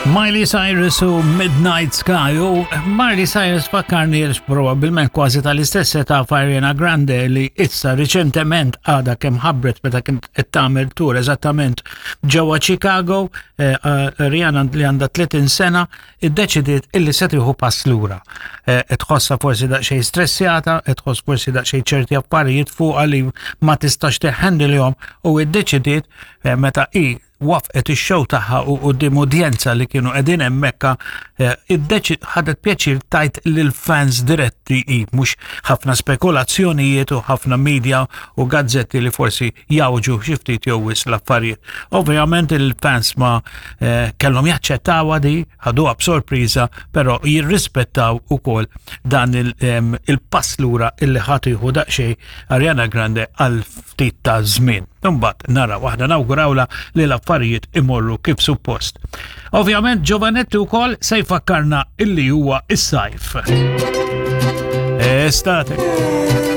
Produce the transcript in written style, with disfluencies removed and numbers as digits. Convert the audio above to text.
Miley Cyrus u Midnight Sky u Miley Cyrus fakkarni l probabbilment kważi tal-istess età f'Ariana Grande li issa riċentement għadha kemm ħabbret meta kien qed tagħmel tour eżattament ġewwa Chicago, eh, eh, Ariana li għandha 30 sena iddeċidiet illi se tieħu pass lura. Eh, qed tħossha forsi daqsxejn stressjata, qed tħoss forsi daqsxejn ċerti affarijiet fuqha li ma tistax teħendilhom u iddeċidiet meta hi waffqet ix-show tagħha u quddiem udjenza li kienu qegħdin hemmhekk eh, iddeċi ħadet pjaċir tajt lill-fans diretti i mhux ħafna spekulazzjonijiet u ħafna media u gazzetti li forsi jawġu xi ftit jew wis l-affarijiet. Ovvjament il-fans ma eh, kellhom jaċċettawha di, ħaduha b'sorpriża, però jirrispettaw ukoll dan il-pass lura illi ħadd jieħu daqsxejn Ariana Grande għal ftit ta' żmien. Imbagħad naraw aħna nawgurawla li l-affarijiet imorru kif suppost. Ovvjament Giovanetti wkoll se jfakkarna illi huwa is-sajf. Estate.